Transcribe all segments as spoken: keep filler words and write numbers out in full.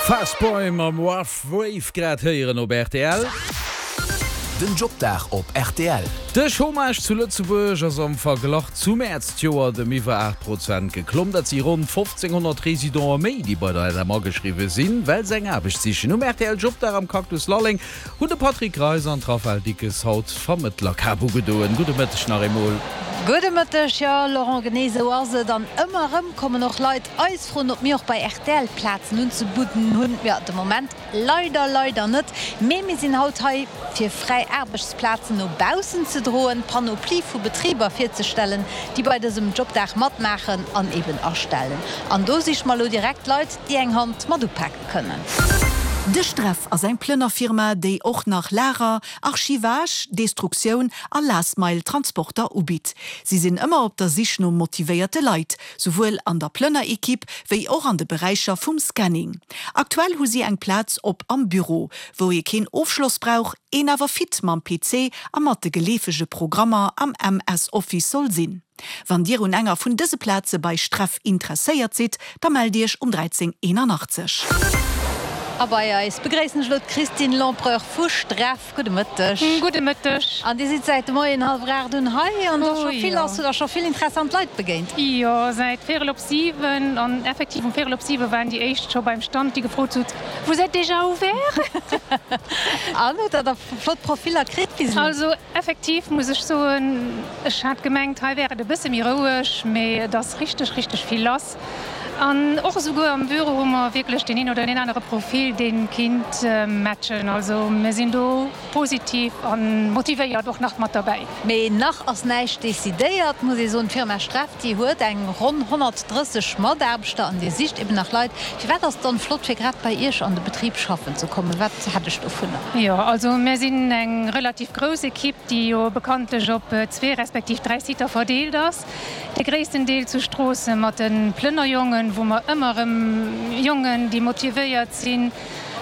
Fast Boy mam Rough Wave grad héieren op rtl. Den Jobdag op rtl. De Chômage zu Lëtzebuerg ass am Verglach zum Mäerz d'Joer ëm iwwer aacht Prozent geklomm. Dat si ronn fofzénghonnert Residente méi, déi bei der L M ageschriwwe sinn, well se eng Aarbecht sichen. Um rtl Jobdag am Cactus Lalleng hunn de Patrick Greis an d'Raphaëlle Dickes haut d'Vermëttlerkap ugedoen. Gudde Mëtteg nach eemol. Gudde Mëtteg, jo Laurent, genee esou ass et. An ëmmer erëm kommen och Leit eis froen, ob mir och bei rtl Plazen unzebudden hunn. Jo, de Moment leider, leider net. Mee mir sinn haut hei, fir fräi Aarbechtsplazen no baussen ze droen, d'Panoplie vu Betriber virzestellen, déi bei dësem Jobdag matmaachen an eben astellen. An do siche mer elo direkt Leit, déi eng Hand mat upake kënnen. De Streff ass eng Plënnerfirma, déi och nach Lager, Archivage, Destruktioun a Last Mile Transporter ubitt. Si sinn ëmmer op der Sich no motivéierte Leit, souwuel an der Plënner-Ekipp wéi och an de Beräicher vum Scanning. Aktuell hu si eng Plaz op am Büro, wou ee keen Ofschloss brauch, een awer fit mam P C a mat de geleefege Programmer am M S Office soll sinn. Wann Dir un enger vun dëse Plaze bei Streff interesséiert sidd, da mellt Iech um dräizéng eenanachtzeg. A bei eis begréissen ech elo d'Christine Lempereur vu Streff. Gudde Mëtteg. Gudde Mëtteg. An Dir sidd säit de Moien hallwer aacht un hei an do scho vill lass. Hutt Der scho vill interessant Leit begéint? Jo, säit véierel op siwen. An effektiv um véierel op siwe waren déi éischt scho beim Stand, déi gefrot hutt, Vous êtes déjà ouvert? An hutt Der da flott Profiller kritt bis elo? Also effektiv muss ech soen, ech hat gemengt, hei wär et e bësse méi roueg, mee et ass richteg, richteg vill lass. An och esouguer am Büro hu mer wierklech deen een oder deen anere Profil, dee kinnt matchen. Also mir sinn do positiv a motivéiert och nach mat derbäi. Mee nach ass näischt decidéiert, muss ee soen. D'Firma Streff, déi huet eng ronn honnertdrësseg Mataarbechter an Dir sicht eben nach Leit. Firwat ass et dann flott, fir grad bei Iech an de Betrib schaffen ze kommen? Wat hätt ech dovunner? Jo, also mir sinn eng relativ grouss Ekipp, déi jo bekanntlech op zwee respektiv dräi Siter verdeelt ass. De gréissten Deel zu Stroossen mat de Plënnerjongen, wou mer ëmmer erëm Jongen, déi motivéiert sinn,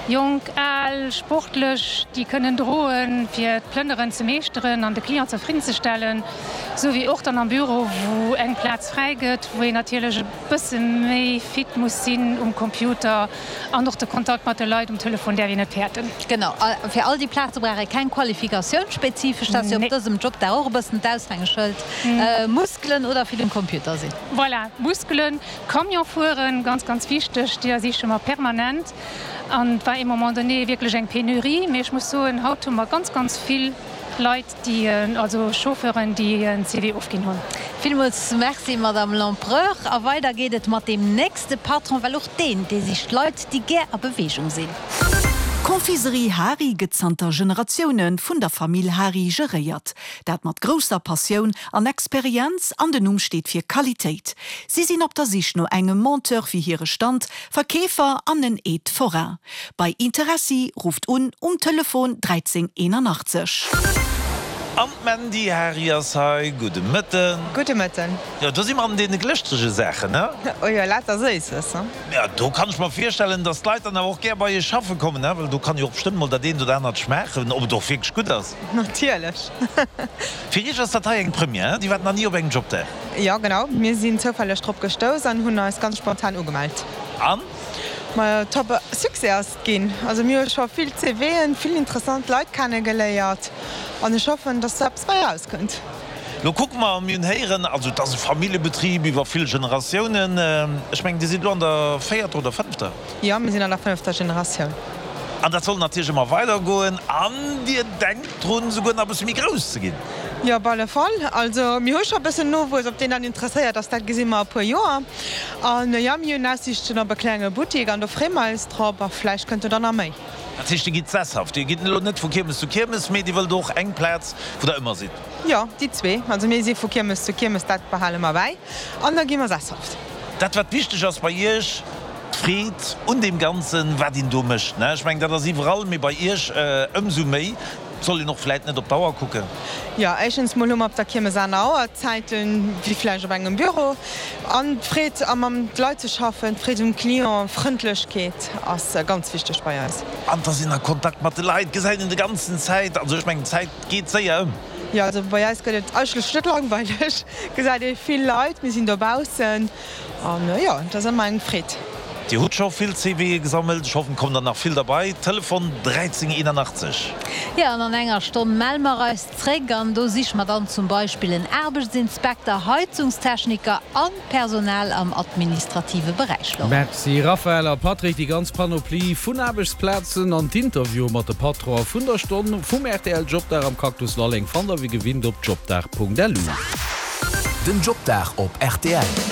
jonk, al, sportlech, déi kënnen droen, fir d'Plënneren ze meeschteren an de Client zefridden ze stellen, sou wéi och dann am Büro, wou eng Plaz fräi gëtt, wou een natierlech e bësse méi fit muss sinn um Computer an och de Kontakt mat de Leit um Telefon däerf een net fäerten. Genau, a fir all déi Plaze brauch ee keng Qualifikatioun spezifesch, dat ass jo op dësem Jobdag och e bëssen d'Aushängeschëld, Muskelen oder vill um Computer sinn. Voilà, Muskelen, Camion fueren, ganz, ganz wichteg, déi siche mer permanent. An et war ee Moment donné wierklech eng Penurie, mee ech muss soen, haut hu mer ganz, ganz vill Leit, déi, also Chauffeuren, déi en C V ofginn hunn. Villmools Merci, Madame Lempereur. A weider geet et mat deem nächste Patron, well och deen, dee sicht Leit, déi gär a Beweegung sinn. D'Confiserie Hari gëtt zanter Generatioune vun der Famill Hari geréiert. Dat mat grousser Passioun an Experienz an den Numm steet fir Qualitéit. Si sinn op der Sich no engem Monteur fir hire Stand, Verkeefer an en Aide forain. Bei Interessi rufft un um Telefon dräizéng eenanachtzeg. An d'Mandy Hari ass hei. Gudde Mëtten. Gudde Mëtten. Jo, do si mer an deene glëschterege Saachen, he? Oh jo, lauter Séisses, he? Jo, do kann ech mer virstellen, dass d'Leit dann awer och gär bei iech schaffe kommen, he? Well do kann jo och bestëmmt mol dat eent oder anert schmaachen, ob et och wierklech gutt ass. Natierlech. Fir iech ass dat hei eng Première, he? Dir waart nach ni op engem Jobdag? Jo, genau. Mir sinn zoufälleg drop gestouss an hunn eis ganz spontan ugemellt. An? Majo, top Succès ass et ginn. Also mir hu scho vill C V'en, vill interessant Leit kennegeléiert an ech hoffen, dass do eppes bei erauskënnt. Lo kucke mer, mir hunn héieren, also et ass e Familljebetrib iwwer vill Generatiounen. Ech mengen, Dir sidd elo an der véierter oder fënnefter? Jo, mir sinn an der fënnefter Generatioun. An dat soll natierlech ëmmer weidergoen. An Dir denkt drun, souguer nach e bësse méi grouss ze ginn? Jo, op alle Fall. Also mir hu scho e bëssen Nowuess. Ob deen dann interesséiert ass, dat gesi mer a puer Joer. An jo, mir hunn Aussiichten op e klenge Buttek an do freeë mer eis drop a vläicht kënnt do dann nach méi. Dat heescht, Dir gitt sesshaft? Dir gitt elo net vu Kiermes zu Kiermes, mee Dir wëllt och eng Plaz, wou Der ëmmer sidd? Jo, déi zwee. Also mir si vu Kiermes zu Kiermes, dat behale mer bäi an da gi mer sesshaft. Dat, wat wichteg ass bei Iech, d'Freed un deem Ganzen, wat een do mécht, ne? Ech mengen, dat ass iwwerall, mee bei Iech ëmsou méi. Et soll een och vläit net op d'Auer kucken. Jo, éischtens mol hu mer op der Kiermes aner Auerzäiten, wéi vläicht op engem Büro. An d'Freed, a mam d'Leit ze schaffen, d'Freed um Client, Frëndlechkeet ass ganz wichteg bei eis. An et ass een a Kontakt mat de Leit, gesäit een de ganzen Zäit. Also ech mengen, d'Zäit geet séier ëm. Jo, also bei eis gëtt et eigentlech net langweileg, gesäit ee vill Leit, mir sinn dobaussen an jo, et ass ëmmer eng Freed. Dir hutt scho vill CVe gesammelt, ech hoffen et kommen der nach vill derbei. Telefon dräizéng eenanachtzeg. Jo, an an enger Stonn melle mer eis zréck an do siche mer dann zum Beispill en Aarbechtsinspekter, Heizungstechniker an Personal am administrative Beräich. Laurent. Merci Raphaël a Patrick. Déi ganz Panoplie vun Aarbechtsplazen an d'Interviewe mat de Patronen vun der Stonn vum rtl Jobdag am Cactus Lalleng fannt der wéi gewinnt op jobdag.lu. Den Jobdag op rtl.